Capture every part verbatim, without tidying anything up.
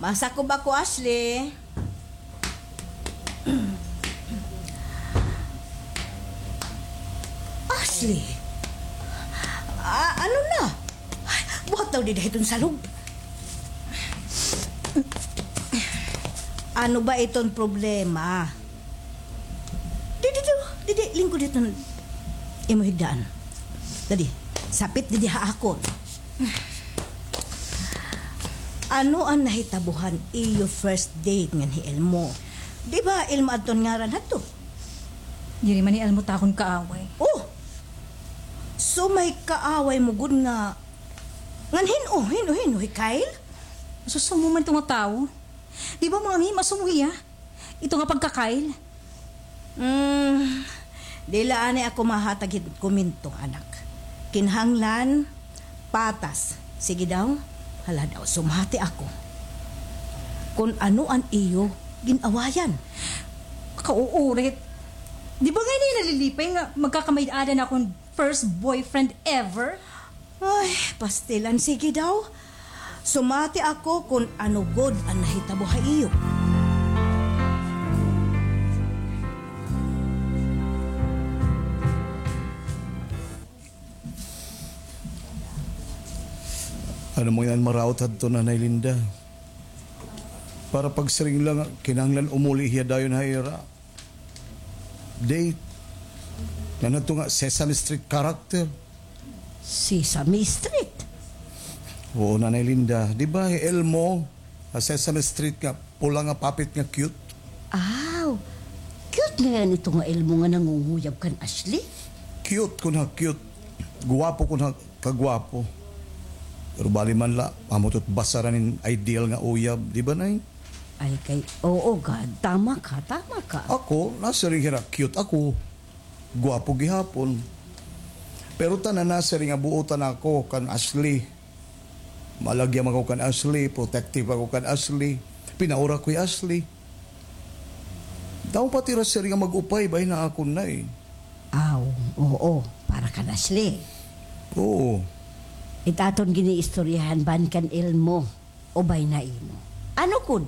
Masakob ako, Ashley. Ashley! Ah, ano na? Ay, buhat daw dida hiton salog. Ano ba iton problema? Didi, didi, didi, lingkod hiton imo higdaan. Dadi, sapit didi ha akon. Ano an nahitabo han iyo first date ngan hi Elmo? Di ba Elmo adton ngaran hadto? Diri man hi Elmo ta akon kaaway. Oh! So may kaaway mo gud nga, ngan hin-o, hin-o, hin-o, hi Kyle? Masusumo man ito nga tawo. Di ba mga mi, masumo hiya? Ito nga pagka-Kyle. Hmm, diri la anay ako mahatag hin komento, anak. Kinahanglan patas. Sige daw. Hala daw, sumati ako kon ano an iyo gin-awayan. Kauurit. Di ba ngay-an nalilipay nga magkakamaid-ada na akon first boyfriend ever? Ay, pastilan. Sige daw. Sumati ako kon ano gud an nahitabo ha iyo. Ano man an maraot hadto, Nanay Linda? Para pagsiring la nga kinahanglan umuli hiya dayon ha ira date. Ngan hadto nga Sesame Street character. Sesame Street? Oo, Nanay Linda. Di ba hi Elmo, ha Sesame Street nga pula nga puppet nga cute? Aw, cute ngay-an ito nga Elmo nga nangunguyab kan Ashley? Cute kon ha cute. Guwapo kon ha kagwapo. Pero bali man la, amo ito it basaran hin ideal nga uyab, di ba, Nay? Ay, kay, oo, God, tama ka, tama ka. Ako, nasiring hira cute ako. Gwapo gihapon. Pero tanan nasiring nga buotan ako kan Ashley. Malagyam ako kan Ashley, protective ako kan Ashley. Pinaura ko hi Ashley. Daw pati hira siring nga mag-upay, bay, na akon, Nay. Aw, oo, para kan Ashley. Oo. It aton giniistoryahan, ban kan Elmo. Ubay na imo. Ano gud?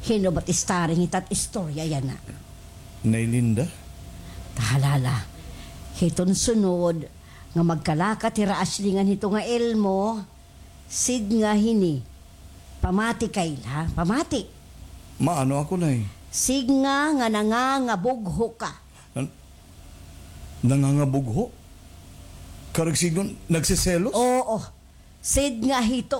Hin-o ba it starring hita it istorya yana? Nay Linda? Tahalala. Hiton sunod nga magkalakat hira Ashley ngan hito nga Elmo, sidnga hini. Pamati, Kyle, ha? Pamati. Maano ako, Nay? Sidnga nga nangangabugho ka. Nan-, nangangabugho? Karuyag sidngon, nagseselos? Oo. Sidnga hito.